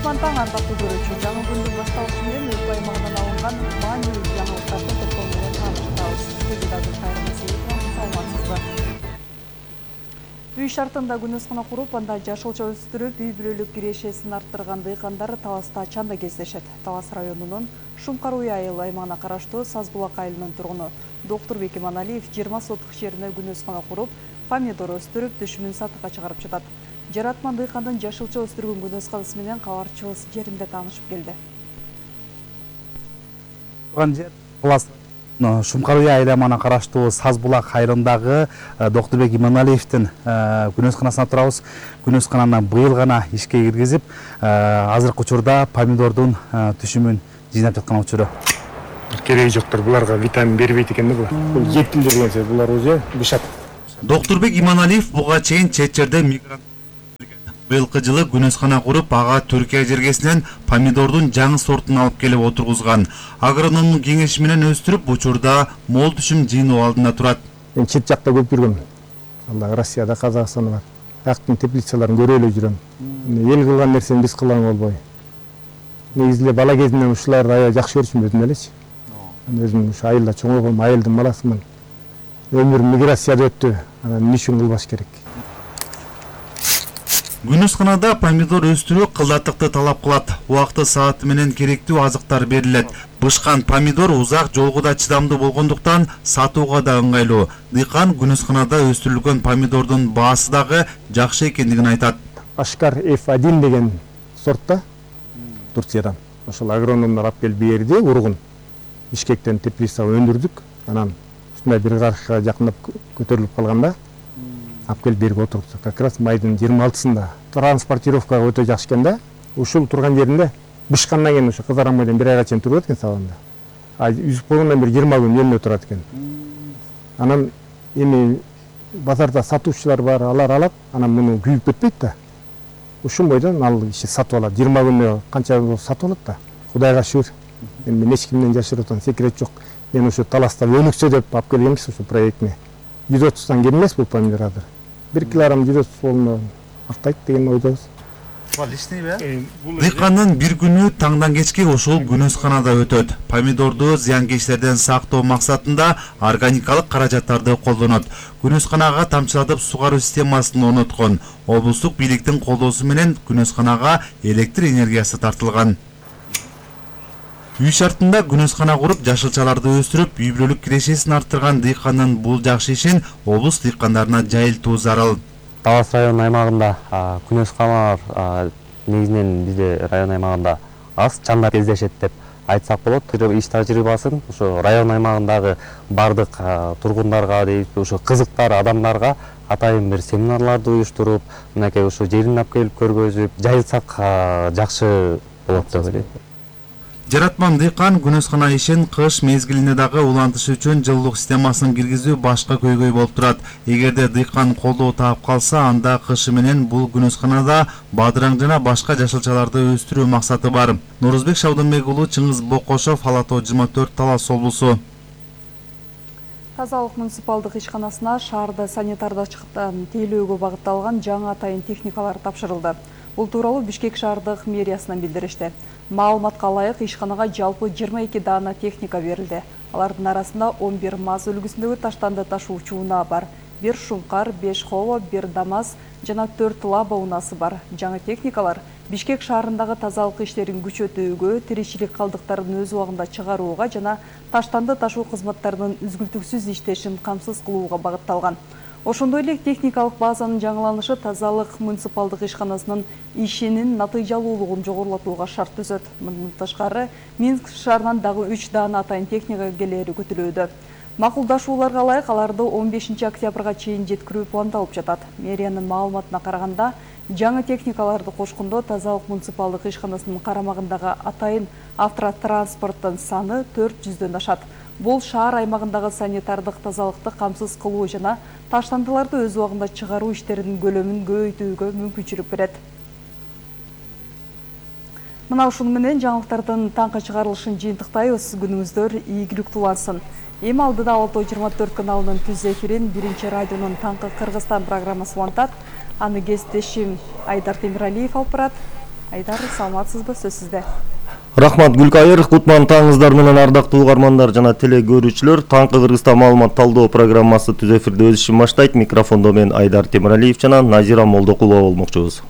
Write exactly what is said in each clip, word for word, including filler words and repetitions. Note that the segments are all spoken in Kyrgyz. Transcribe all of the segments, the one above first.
Кушман таң арбаттуу көрүүчү жаңы күндүн башталышы менен өлкө аймагынан алынган маанилүү жаңылыктарды топтом менен тааныштырабыз. Студияда кайрымсыз саламатсызбы? Үй шартында күнөскана куруп, анда жашылча өстүрүп, үй бүлөлүк кирешесин арттырган дыйкандар Таласта чанда кездешет. Талас районунун Шумкар-Уй айыл аймагына караштуу Сазбулак айылынын тургуну Доктурбек Иманалиев жыйырма сотук жерине күнөскана куруп, помидор өстүрүп, түшүмүн сатыкка чыгарып жатат. Жаратман дыйкандын жашылча өстүргөн күнөсканасы менен кабарчыбыз жеринде таанышып келди. Шумкар-Уй айыл аймагына караштуу Сазбулак айылындагы Доктурбек Иманалиевдин күнөсканасына турабыз. Күнөскананы быйыл гана ишке киргизип, азыркы учурда помидордун түшүмүн жыйнап жаткан учуру. Кереги жоктор, буларга витамин бербейт экен да. Бул жетилдер дегенсе, булар уже бышат. Доктурбек Иманалиев буга чейин чет жерде мигрант быйылкы жылы күнөскана куруп, ага Түркия жергесинен помидордун жаңы сортун алып келип отургузган. Агрономдун кеңеши менен өстүрүп, учурда мол түшүм жыйноо алдында турат. Мен чет жакта көп жүргөм. Алла Россияда, Казакстанда бар. Актын теплицаларын көрө эле жүрөм. Эл кылган нерсени биз кылган болбой. Негизи эле бала кезимден ушуларды аябай жакшы көрчүмүн өзүм элечи. Өзүм ушу айылда чоңойгом, айылдын баласымын. Өмүрүм миграцияда өттү. Анан эмне үчүн кылбаш керек? Күнөсканада помидор өстүрүү кылдаттыкты талап кылат. Убакыты сааты менен керектүү азыктар берилет. Бышкан помидор узак жолго да чыдамдуу болгондуктан сатууга да ыңгайлуу. Дыйкан күнөсканада өстүрүлгөн помидордун баасы дагы жакшы экендигин айтат. Ашкар эф один деген сортта Турциядан. Ошол агрономдор алып келип берди, ургун. Бишкектен теплицага өндүрдүк. Анан ушундай бир карышка жакындап көтөрүлүп калганда алып келип берип отурдук. Как раз майдын жыйырма алтысында транспортировкага өтө жакшы экен да. Ушул турган жеринде бышкандан кийин ошо кызарамайдан бир айга чейин турат экен салонда. А үзүп койгондон бери жыйырма күн эмне турат экен. Анан эми базарда сатуучулар бар, алар алат, анан муну күйүп кетпейт да. Ушул бойдон ал киши сатып алат. жыйырма күндө канча сатып алат да. Кудайга шүгүр. Мен эч кимден жашыруутан секрет жок. Мен ушу Таласта өнүксө деп алып келгенбиз ушу проектни. жүз отуздан кем эмес бул помидор азыр. бир килограмм жүз отуз болуна актайт деген ойдобуз. Дыйкандын бир күнү таңдан кечке ошол күнөсканада өтөт. Помидорду зыянкечтерден сактоо максатында органикалык каражаттарды колдонот. Күнөсканага тамчылатып сугаруу системасын орноткон. Облустук бийликтин колдоосу менен күнөсканага электр энергиясы тартылган. Үй шартында күнөскана куруп, жашылчаларды өстүрүп, үй бүлөлүк кирешесин арттырган дыйкандын бул жакшы ишин облус дыйкандарына жайылтуу зарыл. Талас район аймагында күнөсканалар негизинен бизде район аймагында аз, чанда кездешет деп айтсак болот. Иш тажрыйбасын ошо район аймагындагы бардык тургундарга дейт, ошо кызыктар адамдарга атайын бир семинарларды уюштуруп, мынакей ошо жерин алып келип көргөзүп, жайылтсак жакшы болот деп ойлойм. Жаратман дыйкан күнөскана ишин кыш мезгилинде дагы улантыш үчүн жылуулук системасын киргизүү башка көйгөй болуп турат. Эгерде дыйкан колдоо таап калса, анда кышы менен бул күнөсканада бадыраң жана башка жашылчаларды өстүрүү максаты бар. Нурузбек Шабдынбек уулу, Чыңгыз Бокошов, Ала-тоо жыйырма төрт, Талас облусу. Тазалык муниципалдык ишканасына шаарда санитардачылыктан тейлөөгө багытталган жаңы атайын техникалар тапшырылды. Бул тууралуу Бишкек шаардык мэриясынан билдиришти. Маалыматка ылайык ишканага жалпы жыйырма эки даана техника берилди. Алардын арасында он бир МАЗ үлгүсүндөгү таштанды ташуучу унаа бар. бир Шумкар, беш Хово, бир ДАМАЗ жана төрт Лаба унаасы бар. Жаңы техникалар Бишкек шаарындагы тазалык иштерин күчөтүүгө, тиричилик калдыктарын өз убагында чыгарууга жана таштанды ташуу кызматтарынын үзгүлтүксүз иштешин камсыз кылууга багытталган. Ошондой эле техникалык базанын жаңыланышы тазалык муниципалдык ишканасынын ишинин натыйжалуулугун жогорулатууга шарт түзөт. Мындан тышкары Минск шаарынан дагы үч даана атайын техника келери күтүлүүдө. Макулдашууларга ылайык аларды он бешинчи октябрга чейин жеткирүү пландалып жатат. Мэриянын маалыматына караганда, жаңы техникаларды кошкондо тазалык муниципалдык ишканасынын карамагындагы атайын автотранспорттун саны төрт жүздөн ашат. Бул шаар аймагындагы санитардык тазалыкты камсыз кылуу жана таштандыларды өз убагында чыгаруу иштеринин көлөмүн көбөйтүүгө мүмкүнчүлүк берет. Мына ушуну менен жаңылыктардын таңкы чыгарылышын жыйынтыктайбыз. Күнүңүздөр ийгиликтүү улансын. Эми алдыда Ала-тоо жыйырма төрт каналынын түз эфирин биринчи радионун таңкы Кыргызстан программасы улантат. Аны кесиптешим Айдар Темиралиев алып барат. Айдар, саламатсызбы, сөз сизде. Рахмат Гүлкайыр, кутман таңыңыздар менен ардактуу угармандар жана теле көрүүчүлөр. Таңкы Кыргызстан маалымат талдоо программасы түз эфирде өз ишин баштайт. Микрофондо мен Айдар Темиралиев жана Назира Молдокулова болмокчубуз.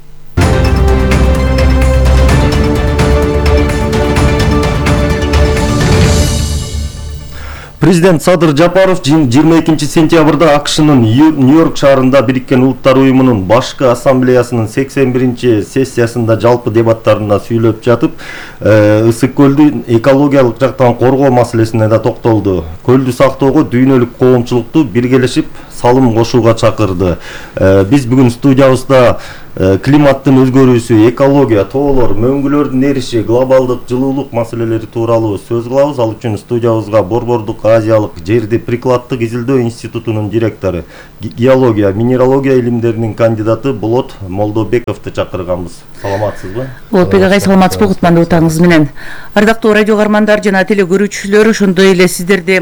Президент Садыр Жапаров жыйырма экинчи сентябрда АКШнын Нью-Йорк шаарында Бириккен Улуттар уюмунун башкы ассамблеясынын сексен биринчи сессиясында жалпы дебаттарында сүйлөп жатып, ысык көлдү экологиялык жактан коргоо маселесине да токтолду. Көлдү сактоого дүйнөлүк коомчулукту биргелешип салым кошууга чакырды. Биз бүгүн студиябызда климаттын өзгөрүүсү, экология, тоолор, мөңгүлөрдүн эриши, глобалдык жылуулук маселелери тууралуу сөз кылабыз. Ал үчүн студиябызга Борбордук Азиялык жерди прикладдык изилдөө институтунун директору, геология, минералогия илимдеринин кандидаты Болот Молдобековду чакырганбыз. Саламатсызбы? Болотбек агай, саламатсызбы, кутмандуу таңыңыз менен. Ардактуу радио угармандар жана теле көрүүчүлөр, ошондой эле сиздерди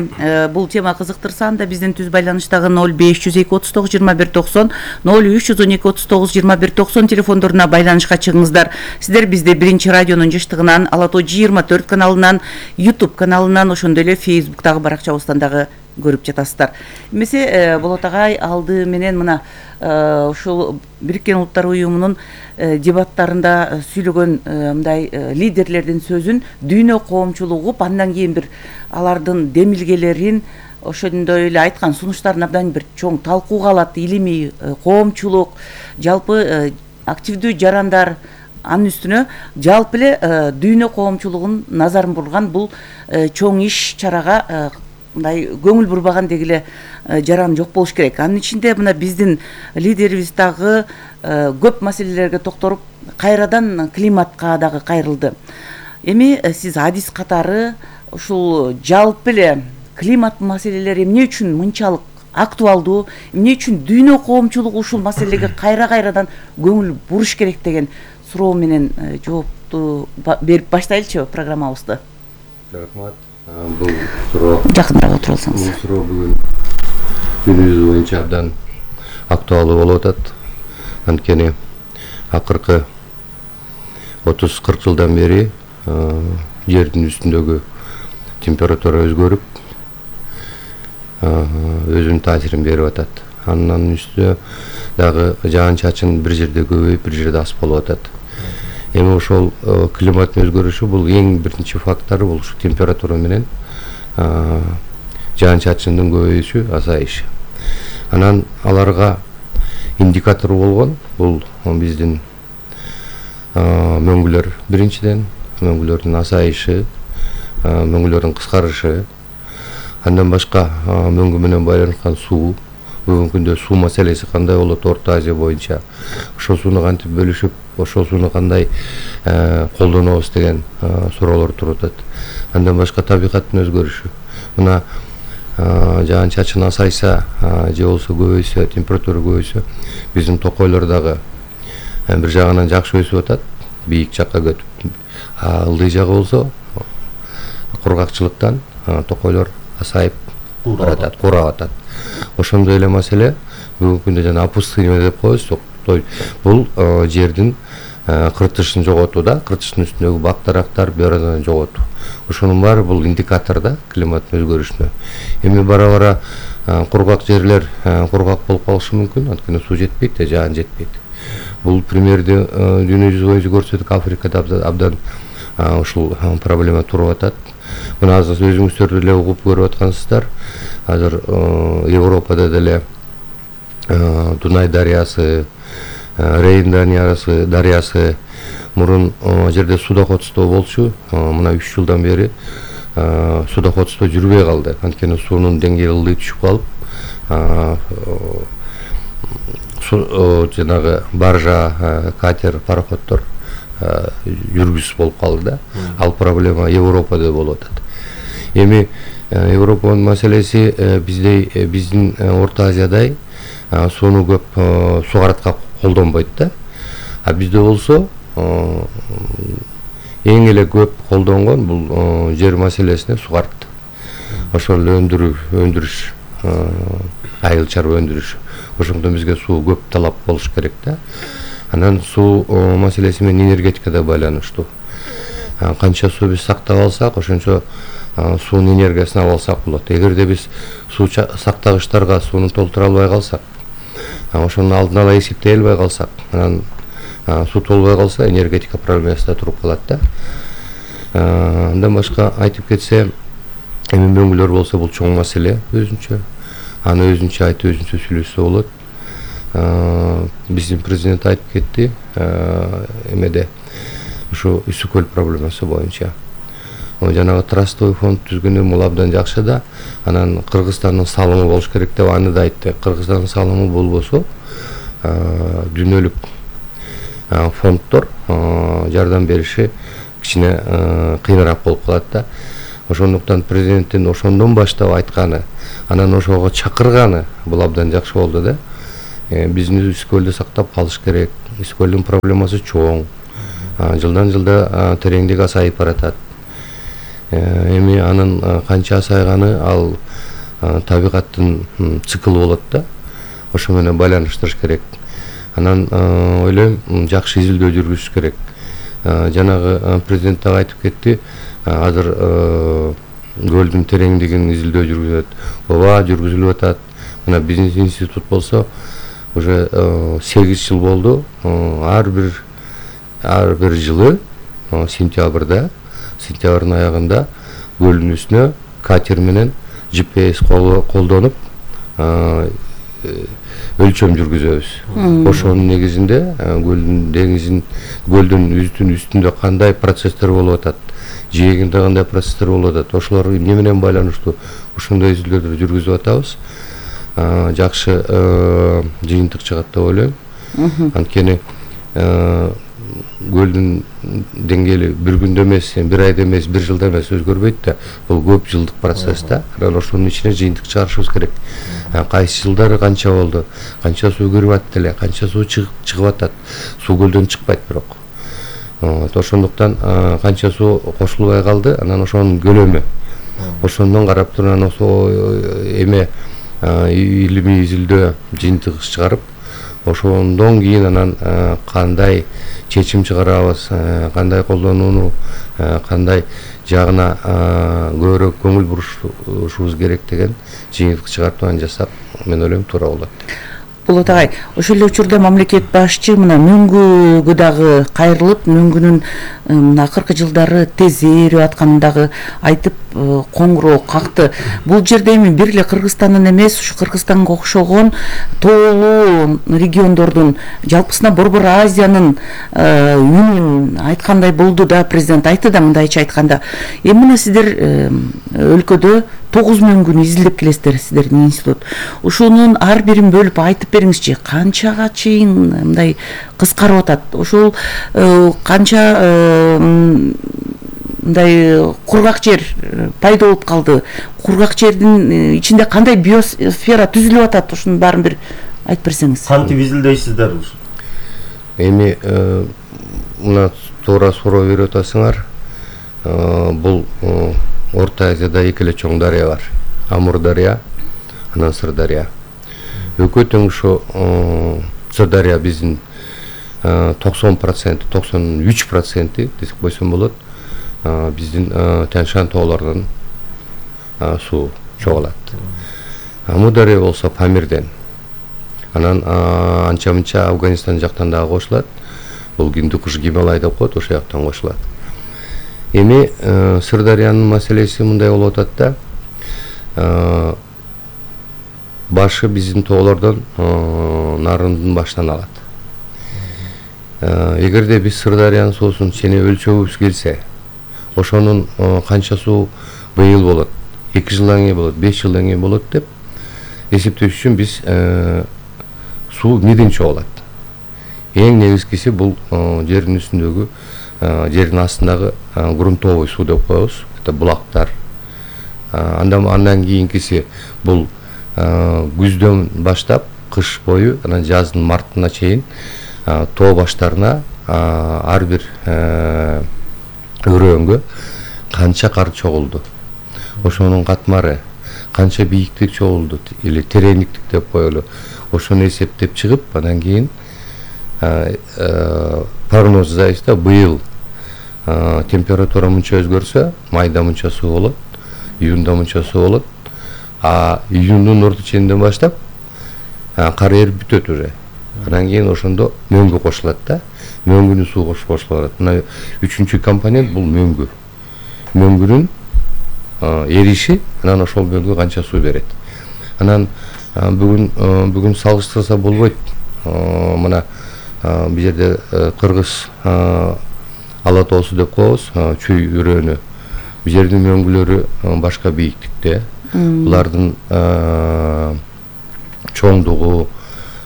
бул тема кызыктырса, анда биздин түз байланыштагы ноль беш жүз эки отуз тогуз жыйырма бир токсон, ноль үч жүз он эки отуз тогуз жыйырма бир токсон телефондоруна байланышка чыгыңыздар. Сиздер бизди биринчи радионун жыштыгынан, Ала тоо жыйырма төрт каналынан, YouTube каналынан, ошондой эле Facebooктагы баракчабыздан дагы көрүп жатасыздар. Эмесе Болот агай алды менен мына ушул Бириккен Улуттар уюмунун дебаттарында сүйлөгөн мындай лидерлердин сөзүн дүйнө коомчулугу андан кийин бир алардын демилгелерин, ошондой эле айткан сунуштарын абдан бир чоң талкууга алат. Илимий коомчулук, жалпы активдүү жарандар, анын үстүнө жалпы эле дүйнө коомчулугунун назарын бурган бул чоң иш чарага мындай көңүл бурбаган дегиле жаран жок болуш керек. Анын ичинде мына биздин лидерибиз дагы көп маселелерге токторуп, кайрадан климатка дагы кайрылды. Эми сиз адис катары ушул жалпы эле климат маселелери эмне үчүн мынчалык актуалдуу, эмне үчүн дүйнө коомчулугу ушул маселеге кайра-кайрадан көңүл буруш керек деген суроо менен жоопту берип баштайлычы программабызды. Рахмат. Бул суроо жакыныраак отуруп алсаңыз. Бул суроо бүгүн күнүбүз боюнча абдан актуалдуу болуп атат. Анткени акыркы отуз кырк жылдан бери жердин үстүндөгү температура өзгөрүп, өзүнүн таасирин берип атат. Анын үстүнө дагы жаан-чачын бир жерде көбөйүп, бир жерде аз болуп атат. Эми ошол климаттын өзгөрүшү бул эң биринчи фактор, бул ушу температура менен жаан-чачындын көбөйүшү, азайышы. Анан аларга индикатор болгон бул биздин мөңгүлөр, биринчиден мөңгүлөрдүн азайышы, мөңгүлөрдүн кыскарышы, андан башка мөңгү менен байланышкан суу. Бүгүнкү күндө суу маселеси кандай болот Орто Азия боюнча, ошол сууну кантип бөлүшүп, ошол сууну кандай колдонобуз деген суроолор туруп атат. Андан башка табигаттын өзгөрүшү. Мына жаан-чачын азайса же болбосо көбөйсө, температура көбөйсө, биздин токойлор дагы бир жагынан жакшы өсүп атат, бийик жакка көтүп. Ылдый жагы болсо кургакчылыктан токойлор азайып баратат, курап атат. Ошондой эле маселе бүгүнкү күндө жана опустынение деп коебуз. Бул жердин кыртышын жоготуу да, кыртыштын үстүндөгү бак-дарактар баарынан жоготуу. Ошонун баары бул индикатор да климаттын өзгөрүшүнө. Эми бара-бара кургак жерлер кургак болуп калышы мүмкүн, анткени суу жетпейт, жаан жетпейт. Бул примерди дүйнө жүзү боюнча көрсөтүк, Африкада абдан ушул проблема туруп атат. Мына азыр өзүңүздөр деле угуп көрүп аткансыздар. Азыр Европада деле Дунай дарыясы, Рейн дарыясы, дарыясы мурун жерде судоходство болчу. Мына үч жылдан бери судоходство жүрбөй калды. Анткени суунун деңгээли ылдый түшүп калып, жанагы баржа, катер, пароходдор жүргүсүз болуп калды да. Ал проблема Европада болуп атат. Эми Европанын маселеси биздей, биздин Орто Азиядай сууну көп суугаратка колдонбойт да. А бизде болсо эң эле көп колдонгон бул жер маселесине суугарат. Ошол өндүрүү, өндүрүш, айыл чарба өндүрүш. Ошондон бизге суу көп талап болуш керек да. Анан суу маселеси менен энергетика да байланыштуу. Канча суу биз сактап алсак, ошончо суунун энергиясын ала алсак болот. Эгерде биз суу сактагычтарга сууну толтура албай калсак, ошону алдын ала эсептей албай калсак, анан суу толбой калса энергетика проблемасы да туруп калат да. Андан башка айтып кетсе, эми мөңгүлөр болсо бул чоң маселе өзүнчө. Аны өзүнчө айтып, өзүнчө сүйлөшсө болот. Биздин президент айтып кетти эмеде ушу Үсү көл проблемасы боюнча. Жанагы трастовый фонд түзгөнү бул абдан жакшы да. Анан Кыргызстандын салымы болуш керек деп аны да айтты. Кыргызстандын салымы болбосо дүйнөлүк фонддор жардам бериши кичине кыйыныраак болуп калат да. Ошондуктан президенттин ошондон баштап айтканы, анан ошого чакырганы бул абдан жакшы болду да. Биздин Үсү көлдү сактап калыш керек. Үсү көлдүн проблемасы чоң. Жылдан жылда тереңдик азайып баратат. Эми анын канча азайганы ал табигаттын циклы болот да. Ошо менен байланыштырыш керек. Анан ойлойм, жакшы изилдөө жүргүзүш керек. Жанагы президент дагы айтып кетти, азыр көлдүн тереңдигин изилдөө жүргүзүлөт. Ооба, жүргүзүлүп атат. Мына бизнес институт болсо уже сегиз жыл болду. Ар бир ар бир жылы сентябрда, сентябрдын аягында көлдүн үстүнө катер менен джи пи эс колдонуп өлчөм жүргүзөбүз. Ошонун негизинде көлдүн деңиздин көлдүн үстүн үстүндө кандай процесстер болуп атат, жээгинде кандай процесстер болуп атат, ошолор эмне менен байланыштуу, ошондой изилдөөлөрдү жүргүзүп атабыз. Жакшы жыйынтык чыгат деп ойлойм. Анткени көлдүн деңгээли бир күндө эмес, бир айда эмес, бир жылда эмес өзгөрбөйт да. Бул көп жылдык процесс да. Анан ошонун ичине жыйынтык чыгарышыбыз керек. Кайсы жылдары канча болду, канча суу кирип атты эле, канча суу чыгып атат. Суу көлдөн чыкпайт бирок. Ошондуктан канча суу кошулбай калды, анан ошонун көлөмү. Ошондон карап туруп анан эме илимий изилдөө жыйынтык чыгарып, ошондон кийин анан кандай чечим чыгарабыз, кандай колдонууну, кандай жагына көбүрөөк көңүл бурушубуз керек деген жыйынтык чыгарып анан жасап, мен ойлойм туура болот. Болот агай, ошол эле учурда мамлекет башчы мына мөңгүгө дагы кайрылып, мөңгүнүн мына акыркы жылдары тез ээрип атканын дагы айтып коңгуроо какты. Бул жерде эми бир эле Кыргызстандын эмес, ушу Кыргызстанга окшогон тоолуу региондордун, жалпысына Борбор Азиянын үнүн айткандай болду да, президент айтты да мындайча айтканда. Эми мына сиздер өлкөдө тогуз мөңгүнү изилдеп келесиздер, сиздердин институт. Ушунун ар бирин бөлүп айтып бериңизчи, канчага чейин мындай кыскарып атат? Ошол канча мындай кургак жер пайда болуп калды? Кургак жердин ичинде кандай биосфера түзүлүп атат? Ушунун баарын бир айтып берсеңиз. Кантип изилдейсиздер? Эми мына туура суроо берип атасыңар. Бул Орто Азияда эки эле чоң дарыя бар. Амур дарыя, анан Сырдарыя. Экөө тең ушу Сырдарыя биздин токсон процент, токсон үч процент десек койсом болот. Биздин Тянь-Шань тоолорунун суу чогулат. Амур дарыя болсо Памирден. Анан анча-мынча Афганистан жактан дагы кошулат. Бул Гиндукуш Гималай деп коет, ошол жактан кошулат. Эми Сырдарыянын маселеси мындай болуп атат да. Башы биздин тоолордон нарындын баштан алат. Эгерде биз Сырдарыянын суусун чене өлчөбүз келсе, ошонун канча суу быйыл болот, эки жылдан кийин болот, беш жылдан кийин болот деп эсептеш үчүн биз суу эмнеден чогулат? Эң негизгиси бул жердин үстүндөгү, жердин астындагы грунтовый суу деп коебуз. Это булактар. Андан андан кийинкиси бул күздөн баштап кыш бою, анан жаздын мартына чейин тоо баштарына ар бир өрөөнгө канча кар чогулду, ошонун катмары, канча бийиктик чогулду или тереңдиктик деп коелу, ошону эсептеп чыгып, анан кийин прогноз жасайбыз да, быйыл температура мынча өзгөрсө, майда мынча суу болот, июнда мынча суу болот, а июндун орто ченинен баштап кар эрип бүтөт уже. Анан кийин ошондо мөңгү кошулат да. Мөңгүнүн суу кошулат. Мына үчүнчү компонент бул мөңгү. Мөңгүнүн эриши, анан ошол мөңгү канча суу берет. Анан бүгүн бүгүн салыштырса болбойт. Мына бул жерде Кыргыз ала тоосу деп коебуз, чүй үрөөнү. Бул жердин мөңгүлөрү башка бийиктикте. Булардын чоңдугу,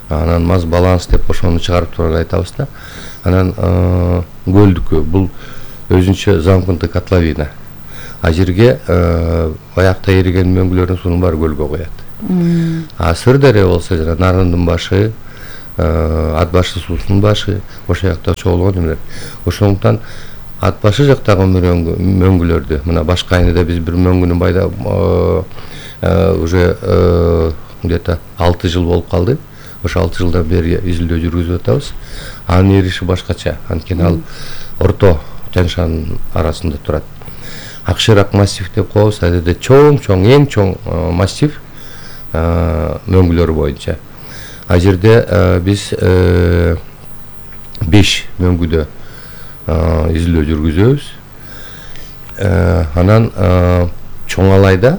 анан маз баланс деп ошону чыгарып турган айтабыз да. Анан көлдүкү бул өзүнчө замкнутый котловина. А жерге аякта эриген мөңгүлөрдүн суунун баары көлгө коет. А Сырдария болсо жана Нарындын башы, Ат башы суусунун башы ошол жакта чогулган эмелер. Ошондуктан Ат башы жактагы мөңгүлөрдү, мына башка айнада биз бир мөңгүнүн байда уже где-то алты жыл болуп калды. Ошо алты жылдан бери изилдөө жүргүзүп атабыз. Анын эриши башкача, анткени ал орто Тянь-Шань арасында турат. Акшырак массив деп коебуз, адеде чоң-чоң, эң чоң массив мөңгүлөр боюнча. А жерде биз беш мөңгүдө изилдөө жүргүзөбүз. Анан Чоңалайда,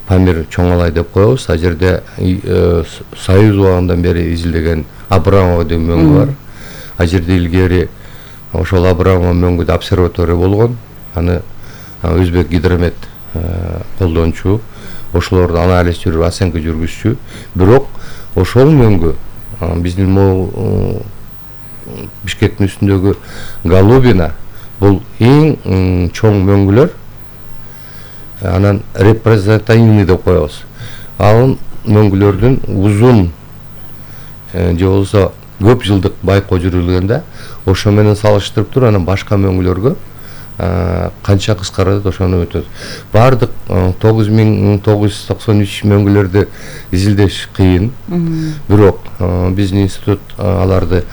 Памир Чоңалай деп коебуз. А жерде Союз убагынан бери изилдеген Абрамова деген мөңгү бар. А жерде илгери ошол Абрамова мөңгүдө обсерватория болгон. Аны Өзбек гидромет колдончу, ошолорду анализ жүрүп, оценка жүргүзчү. Бирок ошол мөңгү биздин могу Бишкектин үстүндөгү Голубина бул эң чоң мөңгүлөр. Анан репрезентативный деп коебуз. Ал мөңгүлөрдүн узун же болсо көп жылдык байкоо жүрүлгөндө ошо менен салыштырып туруп, анан башка мөңгүлөргө канча кыскарат ошону өтөт. Бардык тогуз миң тогуз жүз токсон үч мөңгүлөрдү изилдеш кыйын. Бирок биздин институт аларды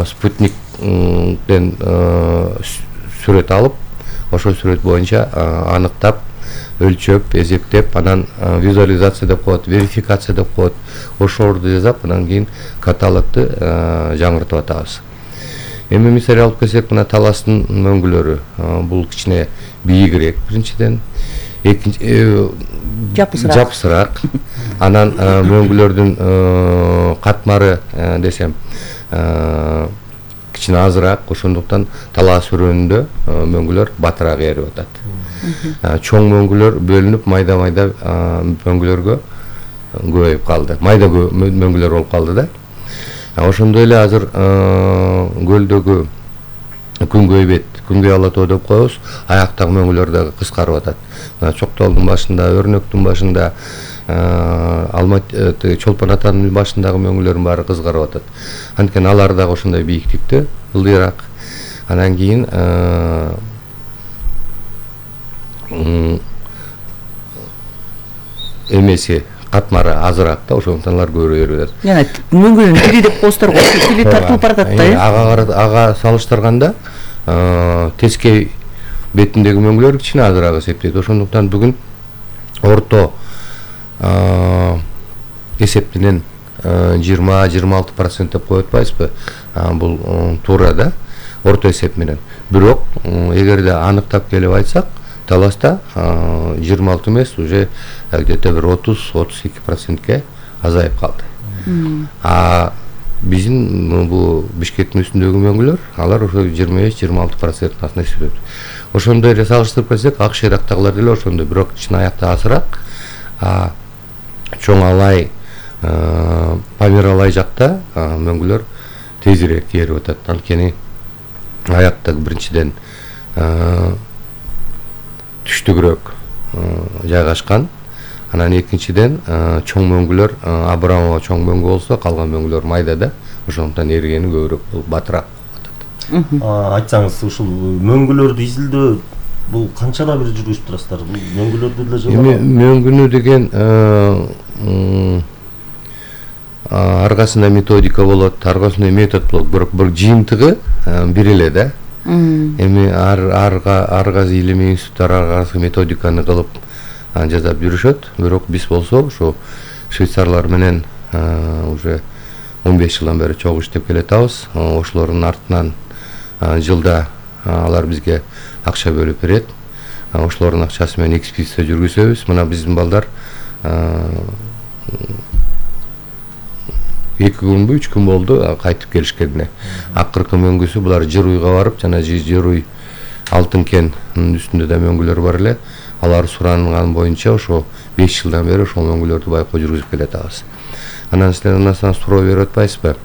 спутниктен сүрөт алып, ошол сүрөт боюнча аныктап, өлчөп, эзектеп, анан визуализация деп коет, верификация деп коет. Ошолорду жасап, анан кийин каталогду жаңыртып атабыз. Эми мисал алып келсек, мына Таластын мөңгүлөрү бул кичине бийигирээк биринчиден, экинчи жапысыраак. Жапысыраак. Анан мөңгүлөрдүн катмары десем кичине азыраак, ошондуктан талаас өрөөнүндө мөңгүлөр батыраак эрип атат. Чоң мөңгүлөр бөлүнүп, майда-майда мөңгүлөргө көбөйүп калды. Майда мөңгүлөр болуп калды да. Ошондой эле азыр көлдөгү күнгөй бет, күнгөй ала тоо деп коебуз, аяктагы мөңгүлөр дагы кыскарып атат. Чоктолдун башында, Өрнөктүн башында, Алматы, Чолпон атанын башындагы мөңгүлөрдүн баары кызгарып атат. Анткени алар дагы ошондой бийиктикте, ылдыйраак. Анан кийин эмеси катмары азыраак да, ошондуктан алар көбүрөөк эрип атат. Жана мөңгүнүн тили деп коебуздар, тили тартылып баратат да. Ага ага салыштырганда тескей бетиндеги мөңгүлөр кичине азыраак эсептейт. Ошондуктан бүгүн орто эсеп менен жыйырма жыйырма алты процент деп коюп атпайбызбы? Бул туура да, орто эсеп менен. Бирок эгерде аныктап келип айтсак, Таласта жыйырма алты эмес, уже где-то бир отуз отуз эки процентке азайып калды. А биздин бул Бишкектин үстүндөгү мөңгүлөр, алар ошо жыйырма беш жыйырма алты проценттин астында эсептелет. Ошондой эле салыштырып келсек, Акш Ирактагылар деле ошондой, бирок кичине аякта азыраак. А Чоңалай, Памир жакта мөңгүлөр тезирээк эрип атат. Анткени аякта биринчиден түштүгүрөөк жайгашкан. Анан экинчиден чоң мөңгүлөр, Абрамова чоң мөңгү болсо, калган мөңгүлөр майда да, ошондуктан эригени көбүрөөк болуп батыраак болуп атат. Айтсаңыз, ушул мөңгүлөрдү изилдөө бул канчада бир жүргүзүп турасыздар? Бул мөңгүлөрдү деле жылы. Эми мөңгүнү деген аргасында методика болот, аргасында метод болот, бирок бир жыйынтыгы бир эле да. Эми ар арга аргасы илимий институттар аргасы методиканы кылып жасап жүрүшөт, бирок биз болсо ошо швейцарлар менен уже он беш жылдан бери чогуу иштеп келатабыз. Ошолордун артынан жылда алар бизге акча бөлүп берет. Ошолордун акчасы менен экспедиция жүргүзөбүз. Мына биздин балдар эки күнбү, үч күн болду кайтып келишкенине. Акыркы мөңгүсү булар Жыруйга барып, жана Жыруй Алтын кенинин үстүндө да мөңгүлөр бар эле. Алар суранган боюнча ошо беш жылдан бери ошол мөңгүлөрдү байкоо жүргүзүп келатабыз. Анан силер андан суроо берип атпайсызбы?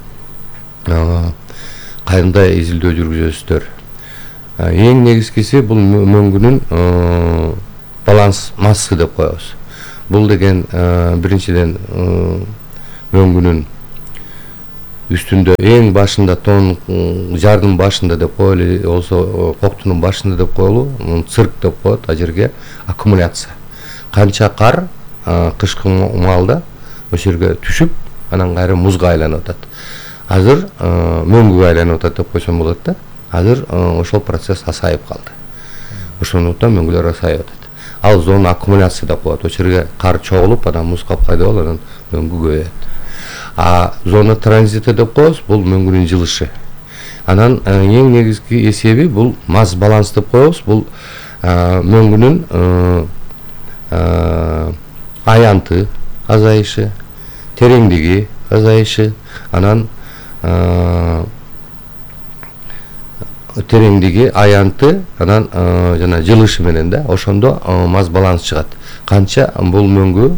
Кандай изилдөө жүргүзөсүздөр? Эң негизгиси бул мөңгүнүн баланс массасы деп коебуз. Бул деген биринчиден мөңгүнүн үстүндө эң башында тон жардын башында деп коелу, болсо коктунун башында деп коелу, цирк деп коет, а жерге аккумуляция. Канча кар кышкы маалда ошол жерге түшүп, анан кайра музга айланып атат. Азыр мөңгүгө айланып атат деп койсом болот да. Азыр ошол процесс асайып калды. Ошондуктан мөңгүлөр асайып атат. Ал зона аккумуляция деп коет. Ошол жерге кар чогулуп, анан муз капкайда болуп, анан мөңгү көбөйөт. А зона транзита деп коебуз, бул мөңгүнүн жылышы. Анан эң негизги эсеби бул масс баланс деп коебуз. Бул мөңгүнүн аянты азайышы, тереңдиги азайышы, анан тереңдиги, аянты, анан жана жылышы менен да ошондо масс баланс чыгат. Канча бул мөңгү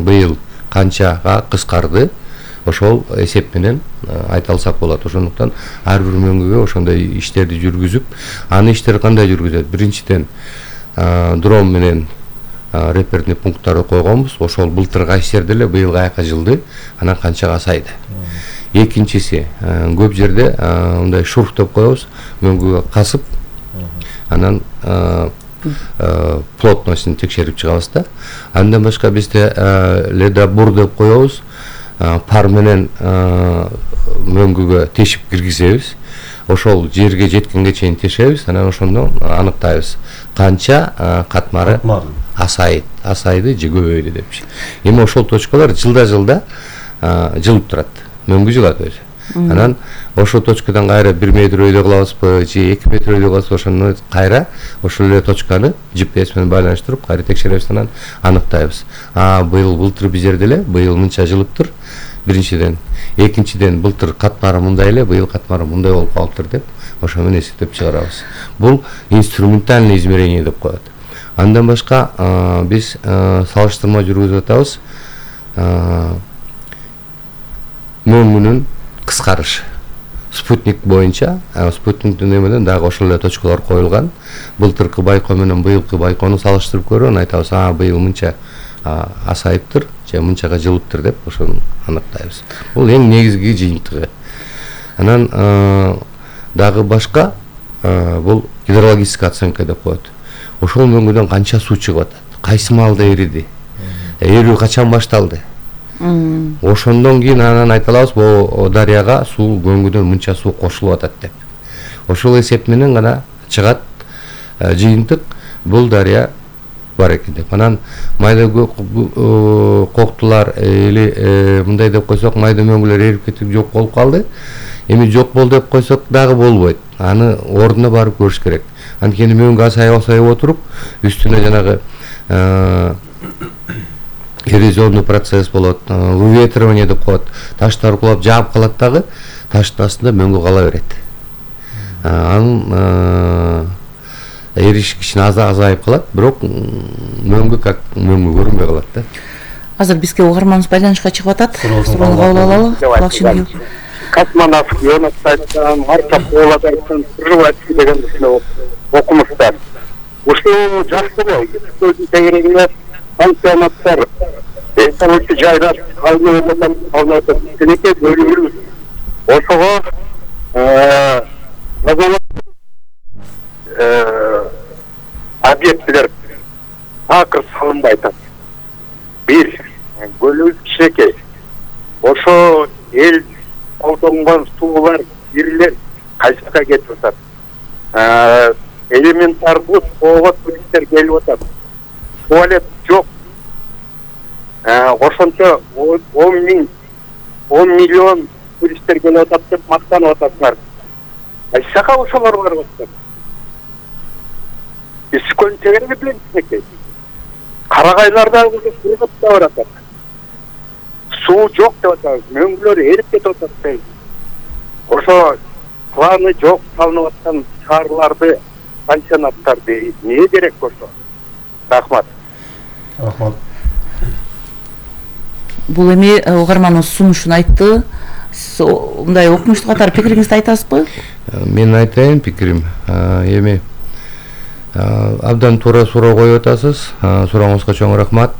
быйыл канчага кыскарды, ошол эсеп менен айта алсак болот. Ошондуктан ар бир мөңгүгө ошондой иштерди жүргүзүп, аны иштер кандай жүргүзөт? Биринчиден дрон менен реперный пункттарды койгонбуз. Ошол былтыркы иштерди эле быйыл каяка жылды, анан канчага асайды. Экинчиси, көп жерде мындай шурф деп коебуз, мөңгүгө касып, анан плотностун текшерип чыгабыз да. Андан башка бизде ледобур деп коебуз, пар менен мөңгүгө тешип киргизебиз. Ошол жерге жеткенге чейин тешебиз, анан ошондо аныктайбыз канча катмары асайт, асайды же көбөйдү депчи. Эми ошол точкалар жылда-жылда жылып турат. Мөңгү жылат өзү. Анан ошол точкадан кайра бир метр өйдө кылабызбы же эки метр өйдө кылабызбы, ошону кайра ошол эле точканы джи пи эс менен байланыштырып кайра текшеребиз, анан аныктайбыз. А быйыл былтыр бир жерде эле быйыл мынча жылыптыр. Биринчиден, экинчиден былтыр катмары мындай эле, быйыл катмары мындай болуп калыптыр деп ошо менен эсептеп чыгарабыз. Бул инструментальный измерение деп коет. Андан башка биз салыштырма жүргүзүп атабыз. Мөңгүнүн кыскарышы. Спутник боюнча, спутниктин эмеден дагы ошол эле точкалар коюлган. Былтыркы байкоо менен быйылкы байкоону салыштырып көрүп, анан айтабыз, а быйыл мынча асайыптыр, же мынчага жылыптыр деп ошону аныктайбыз. Бул эң негизги жыйынтыгы. Анан дагы башка бул гидрологическая оценка деп коет. Ошол мөңгүдөн канча суу чыгып атат, кайсы маалда эриди, эрүү качан башталды. Ошондон кийин анан айта алабыз, бул дарыяга суу мөңгүдөн мынча суу кошулуп атат деп. Ошол эсеп менен гана чыгат жыйынтык, бул дарыя бар экен деп. Анан майда коктулар или мындай деп койсок, майда мөңгүлөр эрип кетип жок болуп калды. Эми жок болду деп койсок дагы болбойт. Аны ордуна барып көрүш керек. Анткени мөңгү асайып асайып отуруп, үстүнө жанагы эрозионный процесс болот, выветривание деп коет. Таштар кулап жаап калат дагы, таштын астында мөңгү кала берет. Анын эриш кичине азайып калат, бирок мөңгү как мөңгү көрүнбөй калат да. Азыр бизге угарманыбыз байланышка чыгып атат. Суроону кабыл алалы. Кулакчын Космонавт, Йонастан, Марча Коладардан, Рывацки деген окумуштар. Ушул жаштыбы, көздүн тегерегине пансионаттар, экологик жайлар, калмыктар, калмыктар, тенеке бөлүнүп, ошого объектилер такыр салынбай атат. Бир, көлүбүз кичинекей. Ошо кайсы жака кетип атат. Элементардуу тоого туристтер келип атат. Туалет жок. Ошончо он миң он миллион туристтер келип атат деп мактанып атасыңар. Кайсы жака ошолор барып атат? Искон чегерге билесизби? Карагайларда кургап да баратат. Суу жок деп атат. Мөңгүлөр эрип кетип атат. Ошо планы жок салынып аткан шаарларды, пансионаттарды эмне керек ошо? Рахмат. Рахмат. Бул эми угарманыбыз сунушун айтты. Мындай окумуштуу катары пикириңизди айтасызбы? Мен айтайын пикирим. Эми абдан туура суроо коюп атасыз. Сурооңузга чоң рахмат.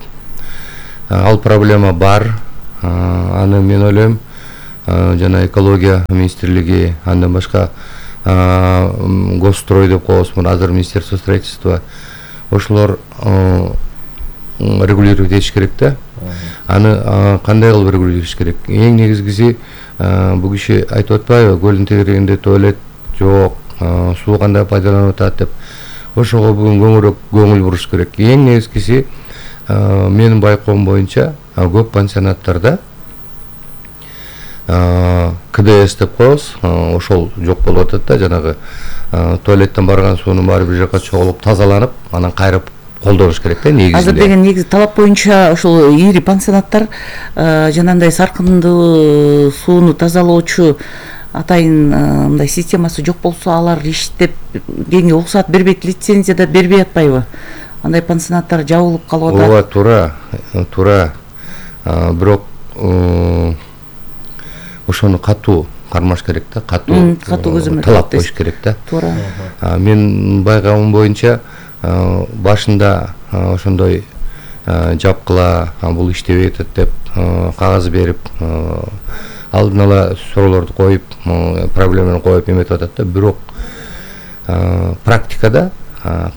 Ал проблема бар. Аны мен ойлойм жана экология министрлиги, андан башка госстрой деп коебузбу, азыр министерство строительства, ошолор регулировать этиш керек да. Аны кандай кылып регулировать керек? Эң негизгиси бул киши айтып атпайбы, көлдүн тегерегинде туалет жок, суу кандай пайдаланып атат деп. Ошого бүгүн көңүрөөк көңүл буруш керек. Эң негизгиси менин байкоом боюнча көп пансионаттарда КДС деп коебуз, ошол жок болуп атат да, жанагы туалеттен барган суунун баары бир жака чогулуп тазаланып, анан кайрып колдонуш керек да негизинде. Азыр деген негизи талап боюнча ошол ири пансионаттар жанагындай саркындуу сууну тазалоочу атайын мындай системасы жок болсо алар иштеп кеңге уруксат бербейт, лицензия да бербей атпайбы? Андай пансионаттар жабылып калып атат. Ооба, туура, туура. Бирок ошону катуу кармаш керек да, катуу талап коюш керек да. Туура. Мен байкагым боюнча башында ошондой жапкыла, бул иштебей атат деп кагаз берип, алдын ала суроолорду коюп, проблеманы коюп эметип атат да. Бирок практикада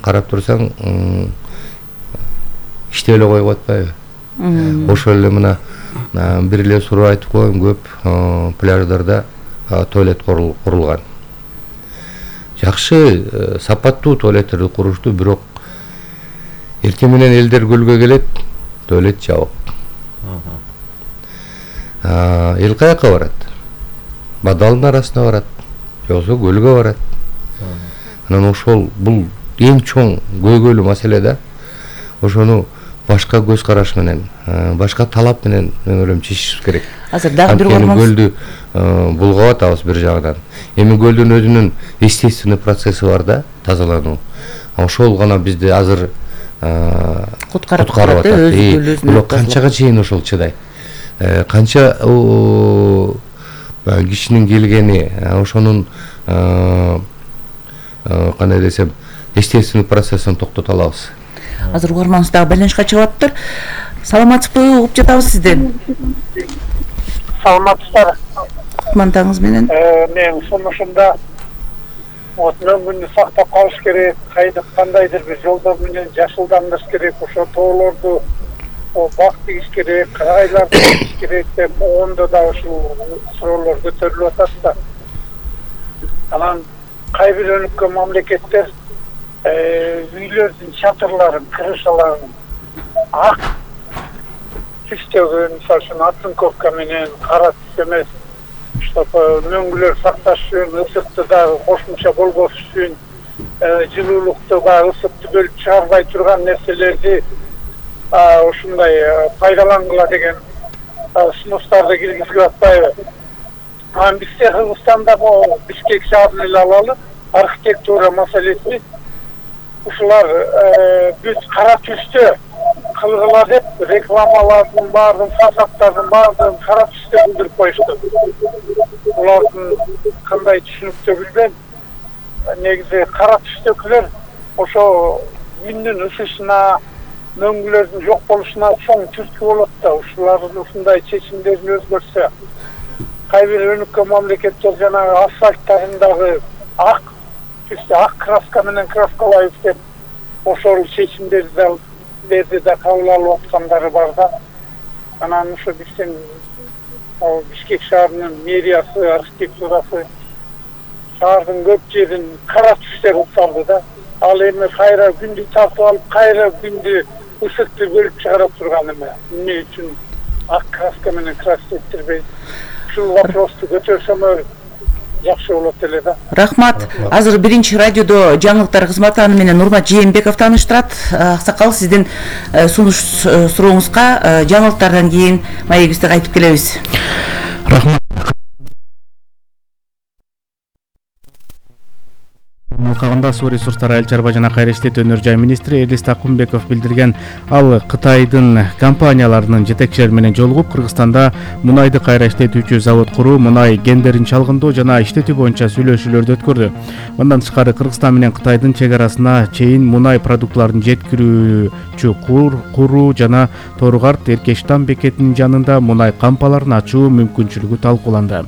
карап турсаң иштеп эле коюп атпайбы? Ошол эле мына бир эле суроо айтып коеюн, көп пляждарда туалет курулган. Жакшы, сапаттуу туалеттерди курушту, бирок эртең менен элдер көлгө келет, туалет жабык. Эл каяка барат? Бадалдын арасына барат, жоксо көлгө барат. Анан ошол бул эң чоң көйгөйлүү маселе да. Ошону башка көз караш менен, башка талап менен мен ойлойм чечишибиз керек. Азыр дагы бир угарман көлдү булгап атабыз бир жагынан. Эми көлдүн өзүнүн естественный процесси бар да, тазалануу. Ошол гана бизди азыр куткарып атат. Бирок канчага чейин ошол чыдайт? Канча кишинин келгени, ошонун кандай десем, естественный процессин токтото алабыз. Азыр угарманыбыз дагы байланышка чыгып атыптыр. Саламатсызбы? Угуп жатабыз сизди. Саламатсыздар. Мантаңыз менен. Мен сунушумда мөңгүлдү сактап калыш керек, кандайдыр бир жолдор менен жашылдандырыш керек, ошо тоолорду бак тийиш керек, карагайларды тийиш керек деп оңдо да ушул суроолор көтөрүлүп атат да. Анан кай бир өнүккөн мамлекеттер үйлөрдүн чатырларын, крышаларын ак түстөгөн, мисалы үчүн оцинковка менен, кара түс эмес, чтобы мөңгүлөр сакташ үчүн, ысыкты дагы кошумча болгош үчүн, жылуулукту дагы ысыкты бөлүп чыгарбай турган нерселерди ушундай пайдалангыла деген сунуштарды киргизип атпайбы? Анан бизде Кыргызстанда могу Бишкек шаарын эле алалы, архитектура маселеси ушулар бүт кара түстө кылгыла деп рекламалардын баардыгын, фасадтардын баардыгын кара түстө билдирип коюшту. Булардын кандай түшүнүктө билбейм. Негизи кара түстөкүлөр ошо күндүн ысышына, мөңгүлөрдүн жок болушуна чоң түрткү болот да. Ушулардын ушундай чечимдерин өзгөртсө, кайбир өнүккөн мамлекеттер жанагы асфальттарындагы ак түстө ак краска менен краскалайбыз деп ошол чечимдерди да кабыл алып аткандары бар да. Анан ушу биздин Бишкек шаарынын мэриясы, архитектурасы шаардын көп жерин кара түстер укталды да. Ал эми кайра күндү тартып алып, кайра күндү ысыкты бөлүп чыгарып турган эме. Эмне үчүн ак краска менен краситтирбейт? Ушул вопросту көтөрсөмөр жакшы болот эле да. Рахмат. Азыр биринчи радиодо жаңылыктар кызматы аны менен Нурмат Жээнбеков тааныштырат. Аксакал, сиздин сунуш сурооңузга жаңылыктардан кийин маегибизде кайтып келебиз. Рахмат. Кагында суу ресурстары айыл чарба жана кайра иштетүү өнөр жай министри Элис Такумбеков билдирген. Ал Кытайдын компанияларынын жетекчилери менен жолугуп, Кыргызстанда мунайды кайра иштетүүчү завод куруу, мунай гендерин чалгындоо жана иштетүү боюнча сүйлөшүүлөрдү өткөрдү. Мындан тышкары Кыргызстан менен Кытайдын чек арасына чейин мунай продуктларын жеткирүүчү куруу жана Торгарт Эркештам бекетинин жанында мунай кампаларын ачуу мүмкүнчүлүгү талкууланды.